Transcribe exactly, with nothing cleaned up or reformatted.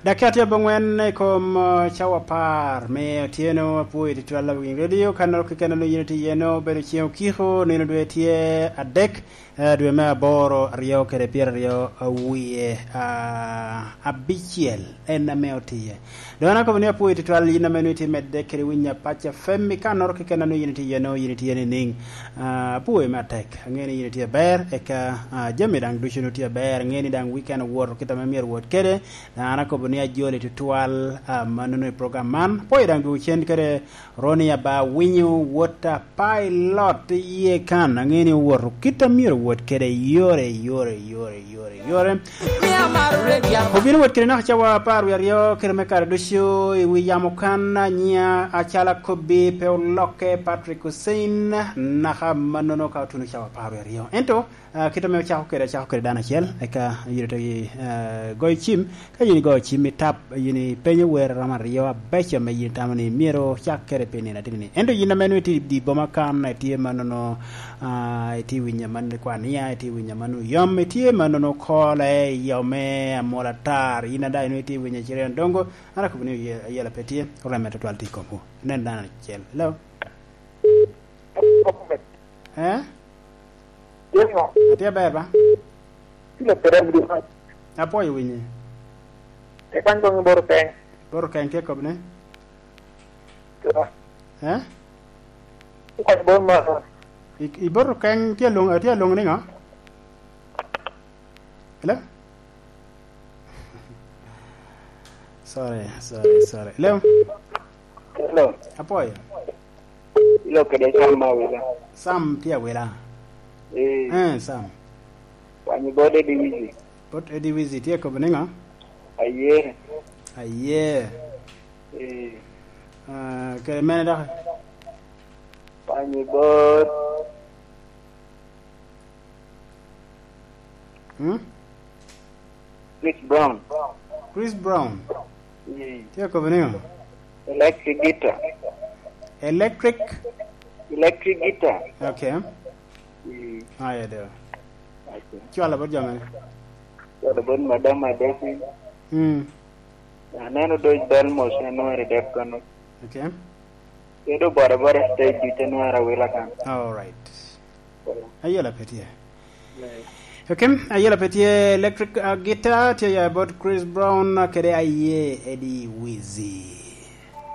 Dakika tye abongwen i kom, uh, cawa apar me otyeno. Apwoyo tutwal awiny radio, ka noro keken onongo yin itye iye, nongo obedo ceng okiko, nino dwe tye adek, eh, dwe me aboro, aryo kede pyeraryo awiye, ah, abicel en ame otiye. Dong an akobo ni apwoyo tutwal yin ame nongo itye medde kede winyo Apac F M i ka noro keken onongo yin itye iye, nongo yin itye nining? Ah, apwoyo me atek. Aŋeo ni yin itye aber, eka, ah, jami daŋ ducu onongo tye aber. Aŋeo ni daŋ weekend owoto kit ame myero owot kede. An akobo ni ajoli tutwal, ah, mannono i program man. Apwoyo daŋ dwogo cen kede Roni aba winyo wot a pilot iye kan. Aŋeo ni owoto kit a myero owot kede yore, yore, yore, yore, yore. Obino wot kede naka cawa apar wie aryo kede me kare ducu i wi yamo kan, anyia acalo akobbi pe olokke, Patrick Hussein, naka mannono ka otuno cawa apar wie aryo. Ento, Ah, kit ame ocako kede, acako kede dano acel, eka yito to i, eh, goyo cim. Ka yin igoyo cim, itap, yin ipenyo wer romo aryo abeco ame yin itamo ni myero ocak kede pi nino ateni ni. Ento yin ame nwoŋo itye i di boma kan, itye mannono, ah, itye winyo amannono i Kwania, itye winyo amannono Oyom, itye mannono Kole, Oyome, Amol Atar, yin ada nwoŋo itye winyo Cirian Dongo, an akobo ni oye-, ayela pe tye, oreme tutwal tye i komwu. Inen dano acel. Hello? Eh? Tye ŋo? Atye aber ba? Tye leb kede abudi man. Apwoyo winyi. Ekwany boŋ i Borokeny. Borokeny tye kobbi ni? Tye. Eh? Ekwany boŋ ma. I, i Borokeny tye alwoŋ-, tye alwoŋo ni ŋo? Hello? Sorry, sorry, sorry. Hello? Hello. Apwoyo. Ilo kede Sam ma Awila. Sam tye Awila. Eh. Eh, Sam. Wanyo bot Eddie Wizzy. Bot Eddie Wizzy tye kobo niŋo? Aye. Aye. Eh. Ah, kede mene dok? Wanyo bot Hmm? Chris Brown. Chris Brown. Mm. Tye kobo niŋo? Electric guitar. Electric? Electric guitar. Okay. Mm. Aya do. Okay. Cwalo bot jami. Cwalo bot madam Adesi. Mm. Aneno doc bal mos, anwero dep kono. Okay. Kede obora bora stage ducu anwero Awila kan. All right. Ayela pe tye. Yeah. Okay, ayela pe tye electric, uh, guitar, tye ya bot Chris Brown, uh, kede aye Eddie Wizzy.